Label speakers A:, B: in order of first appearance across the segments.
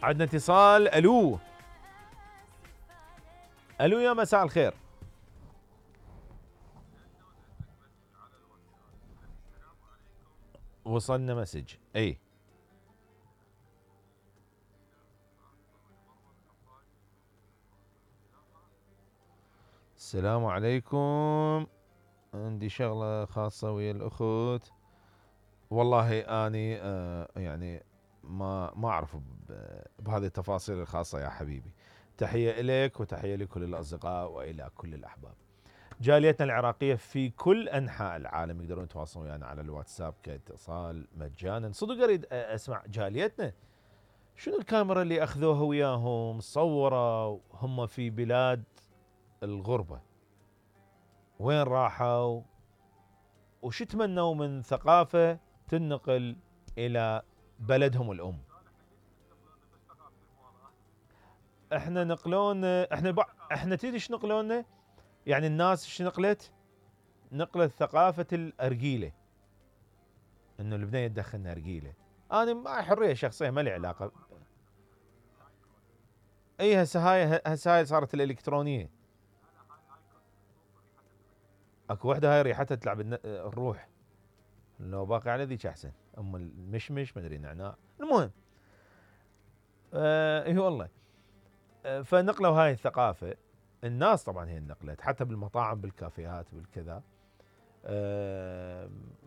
A: عندنا اتصال. الو الو، يا مساء الخير. وصلنا مسج. اي السلام عليكم، عندي شغلة خاصة ويا الأخوت. والله أني يعني ما أعرف بهذه التفاصيل الخاصة يا حبيبي. تحية إليك وتحية لكل الأصدقاء وإلى كل الأحباب. جاليتنا العراقية في كل أنحاء العالم يقدرون يتواصلون ويانا على الواتساب كاتصال مجانا. صدق أريد أسمع جاليتنا شنو الكاميرا اللي أخذوها وياهم صورة هم في بلاد الغربة، وين راحوا وش تمنوا من ثقافة تنقل إلى بلدهم الأم. احنا نقلونا، احنا تدري ايش نقلونا؟ يعني الناس ايش نقلت؟ نقلت ثقافة الأرجيلة، انه البنية تدخلنا أرجيلة. انا ما حرية شخصية ما لي علاقة. اي هسه هاي صارت الإلكترونية. اكو وحدة هاي ريحتها تلعب الروح، لو باقي على ذيك احسن، ام المشمش مدري نعناع. المهم اي والله. فنقلوا هاي الثقافة. الناس طبعا هي نقلت حتى بالمطاعم بالكافيهات بالكذا.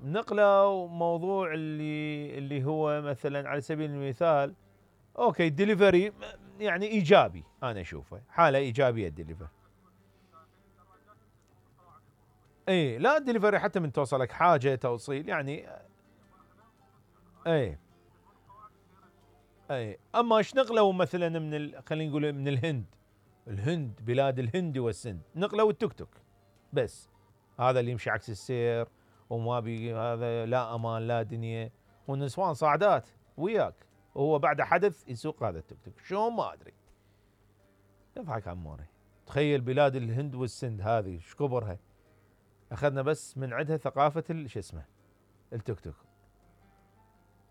A: نقلوا موضوع اللي هو مثلا على سبيل المثال اوكي ديليفري، يعني ايجابي، انا اشوفه حالة ايجابية الديليفري. اي لا الدليفري حتى من توصلك حاجة توصيل يعني. اي اي اما ايش نقلوا مثلا من خلينا نقول من الهند بلاد الهند والسند، نقلوا التوك توك بس. هذا اللي يمشي عكس السير وما بي هذا، لا امان لا دنيا، والنسوان صاعدات وياك، وهو بعد حدث يسوق هذا التوك توك شلون ما ادري. يضحك عموري. تخيل بلاد الهند والسند هذه ايش كبرها، اخذنا بس من عندها ثقافة شو اسمه التوك توك.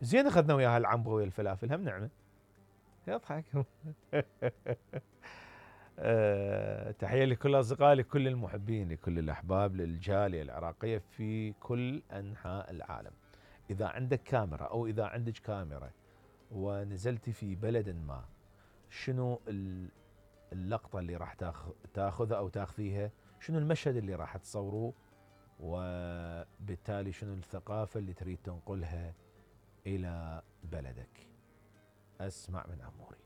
A: زين اخذنا وياها العنبه ويا الفلافل هم نعمه. يضحك. تحية لكل أصدقائي، لكل المحبين، لكل الأحباب، للجالية العراقية في كل أنحاء العالم. إذا عندك كاميرا أو إذا عندك كاميرا ونزلتي في بلد ما، شنو اللقطة اللي راح تاخذها أو تاخذيها؟ شنو المشهد اللي راح تصوروه؟ وبالتالي شنو الثقافة اللي تريد تنقلها إلى بلدك؟ أسمع من أموري.